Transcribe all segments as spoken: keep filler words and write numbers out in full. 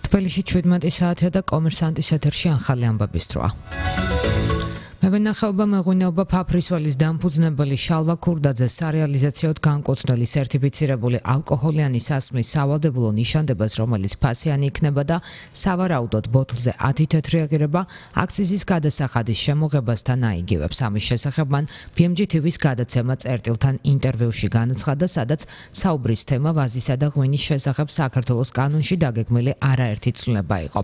თბილისში შვიდმეტი საათია და კომერსანტის ეთერში ახალი ამბების დროა. მევენახეობა მეღვინეობა ფაფრისველის დამფუძნებელი შალვა ქურდაძე სარეალიზაციოდ განკუთვნილი სერტიფიცირებული ალკოჰოლიანი სასმლის სავალდებულო ნიშანდებას, რომელიც ფასიანი იქნება და სავარაუდოდ ბოთლზე ათი თეთრი აღირება აქციზის გადასახადის შემოღებასთან აიგივებს. ამის შესახებ მან ბი ემ ჯი თი ვის გადაცემა წერტილთან ინტერვიუში განაცხადა, სადაც საუბრის თემა ვაზისა და ღვინის შესახებ საქართველოს კანონში დაგეგმილი არაერთი ცვლილება იყო.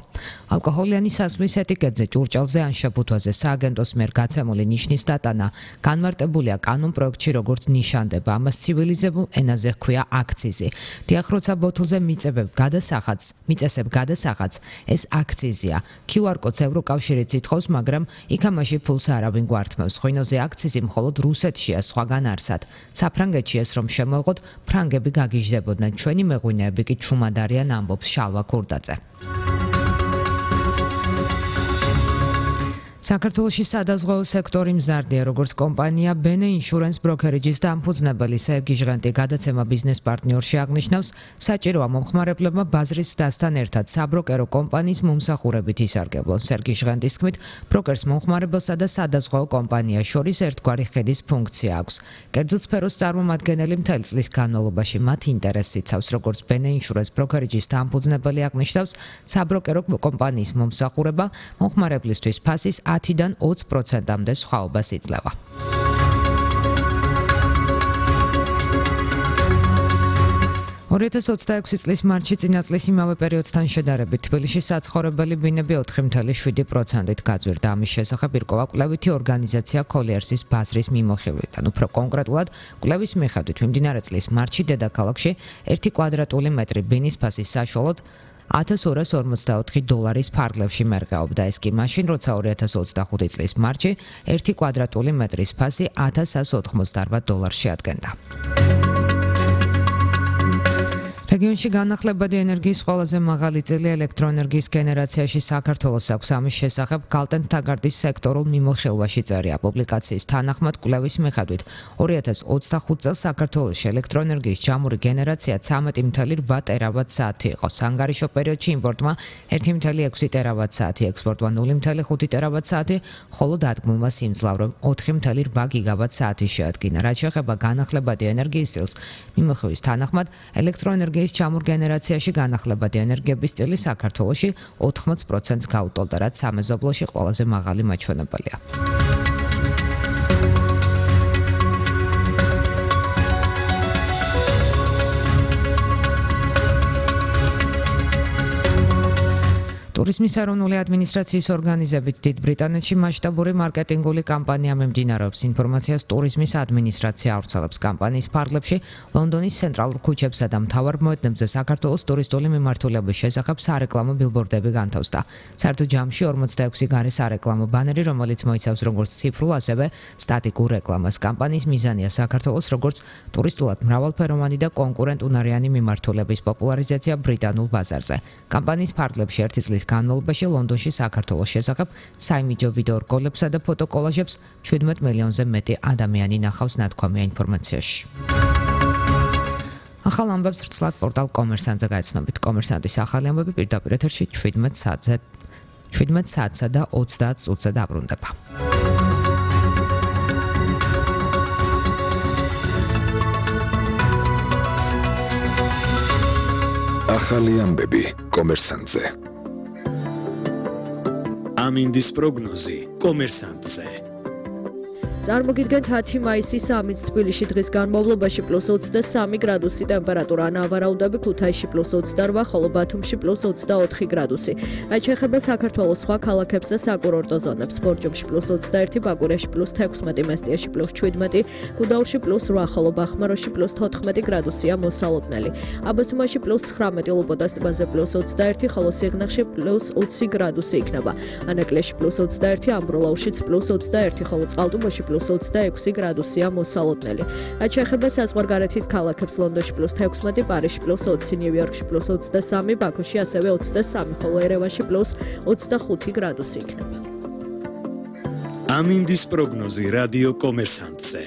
ალკოჰოლიანი სასმლის ეტიკეტზე, ჭურჭელზე ან შეფუთვაზე სააგენტოს მიერ გაცემული ნიშნის დატანა განმარტებულია კანონ პროექტში როგორც ნიშანდება. ამას ცივილიზებულ ენაზე ჰქვია აქციზი. დიახ, როცა ბოთლზე მიწებებ გადასახადს, მიწესებ გადასახადს, ეს აქციზია. ქიუ არ კოდს ევროკავშირიც ითხოვს, მაგრამ იქ ამაში ფულს არავინ გვართმევს. ღვინოზე აქციზი მხოლოდ რუსეთშია, სხვაგან არსად. საფრანგეთში ეს რომ შემოეღოთ, ფრანგები გაგიჟდებოდნენ. ჩვენი მეღვინეები კი ჩუმად არიან, ამბობს შალვა ქურდაძე. საქართველოში სადაზღვეო სექტორი მზარდია, როგორც კომპანია ბენე ინშურენს ბროკერიჯის დამფუძნებელი სერგი ჟღენტი გადაცემა ბიზნეს პარტნიორში აღნიშნავს, საჭიროა მომხმარებლებმა ბაზრის დასთან ერთად საბროკერო კომპანიის მომსახურებით ისარგებლონ. სერგი ჟღენტის თქმით, ბროკერს მომხმარებელსა და სადაზღვეო კომპანიას შორის ერთგვარი ხედის ფუნქცია აქვს. კერძო სფეროს წარმომადგენელი მთელი წლის განმავლობაში მათ ინტერესს იცავს, როგორც ბენე ინშურენს ბროკერიჯის დამფუძნებელი აღნიშნავს, საბროკერო კომპანიის მომსახურება მომხმარებლისთვის ფასის ათიდან ოცი პროცენტამდე სხვაობას იძლევა. ორი ათას ოცდაექვსი წლის მარტში წინა წლის იმავე პერიოდთან შედარებით თბილისში საცხოვრებელი ბინები ოთხი წუთი შვიდი პროცენტით გაძვირდა. ამის შესახებ ირკვევა კვლევითი ორგანიზაცია კოლიერსის ბაზრის მიმოხილვიდან. უფრო კონკრეტულად, კვლევის მიხედვით მიმდინარე წლის მარტში დედაქალაქში ერთი კვადრატული მეტრი ბინის ფასი საშუალოდ ათას ორას ორმოცდაოთხი დოლარის ფარგლებში მერყეობდა. ეს კი მაშინ, როცა ორი ათას ოცდახუთი წლის მარტში ერთი კვადრატული მეტრის ფასი ათას εκατს ოთხმოცდაარბა დოლარს შეადგენდა. რეგიონში განახლებადი ენერგიის ყველაზე მაღალი წილი ელექტროენერგიის გენერაციაში საქართველოს აქვს. ამის შესახებ გალტენ თაგარდის სექტორულ მიმოხილვაში წერია. პუბლიკაციის თანახმად, კვლევის მიხედვით ორი ათას ოცდახუთი წელს საქართველოში ელექტროენერგიის ჯამური გენერაცია ცამეტი წუთი რვა ტერავატ საათი იყო. სანგარიშო პერიოდში იმპორტმა ერთი წუთი ექვსი ტერავატ საათი, ექსპორტმა ნული წუთი ხუთი ტერავატ საათი, ხოლო დადგმულმა სიმძლავრემ ოთხი წუთი რვა გიგავატ საათი შეადგინა. რაც შეეხება განახლებადი ენერგიის წილს, მიმოხილვის თანახმად ელექტროენერგიის ჯამურ გენერაციაში განახლებადი ენერგიების წილი საქართველოში ოთხმოცი პროცენტს გაუტოლდა, რაც სამეზობლოში ყველაზე მაღალი მაჩვენებელია. ტურიზმის ეროვნული ადმინისტრაციის ორგანიზებით დიდ ბრიტანეთში მასშტაბური მარკეტინგული კამპანია მიმდინარეობს. ინფორმაციას ტურიზმის ადმინისტრაცია ავრცელებს. კამპანიის ფარგლებში ლონდონის ცენტრალურ ქუჩებსა და მთავარ მოედნებზე საქართველოს ტურისტული მიმართულების შესახებ სარეკლამო ბილბორდები განთავსდა. საერთო ჯამში ორმოცდაექვსი გარე სარეკლამო ბანერი, რომელიც მოიცავს როგორც ციფრულ, ასევე სტატიკურ რეკლამას. კამპანიის მიზანია საქართველოს როგორც ტურისტულად მრავალფეროვანი და კონკურენტუნარიანი მიმართულების პოპულარიზაცია ბრიტანულ ბაზარზე. კამპანიის ფარგლებში ერთი წლის განმავლობაში ლონდონში საქართველოს შესახებ საიმიჯო ვიდეო რგოლებსა და ფოტოკოლაჟებს შვიდმეტ მილიონზე მეტი ადამიანი ნახავს, ნათქვამია ინფორმაციაში. ახალ ამბებს ვრცლად პორტალ კომერსანტზე გაიცნობით. კომერსანტის ახალი ამბები პირდაპირ ეთერში შვიდმეტ საათზე შვიდმეტ საათსა და ოცდაათ წუთზე დაბრუნდება. ახალი ამბები კომერსანტზე. ამინდის პროგნოზი კომერსანტზე. წარმოგიდგენთ ათი მაისი სამიც თბილისში დღის განმავლობაში პლუს ოცდასამი გრადუსი ტემპერატურა, ნავარაუდები ქუთაისში პლუს ოცდარვა, ხოლო ბათუმში პლუს ოცდაოთხი გრადუსი. რაც შეეხება საქართველოს სხვა ქალაქებს და საკურორტო ზონებს, ბორჯომში პლუს ოცდაერთი, ბაკურიაში პლუს თექვსმეტი, მესტიაში პლუს შვიდმეტი, გუდაურში პლუს რვა, ხოლო ბახმაროში პლუს თოთხმეტი გრადუსია მოსალოდნელი. აბასთუმანში პლუს ცხრამეტი, ლობოდას ტბაზე პლუს ოცდაერთი, ხოლო სიღნაღში პლუს ოცი გრადუსი იქნება. ანაკლიაში პლუს ოცდაერთი, ამბროლაუშიც პლუს ოცდაერთი, ხოლო წყალტუბოში პლუს ოცდაექვსი გრადუსია მოსალოდნელი. რაც შეეხება საზღვარგარეთის ქალაქებს, ლონდონში პლუს თექვსმეტი, პარიზში პლუს ოცი, ნიუ-იორკში პლუს ოცდასამი, ბაქოში ასევე ოცდასამი, ხოლო ერევანში პლუს ოცდახუთი გრადუსი იქნება. ამინდის პროგნოზი რადიო კომერსანტზე.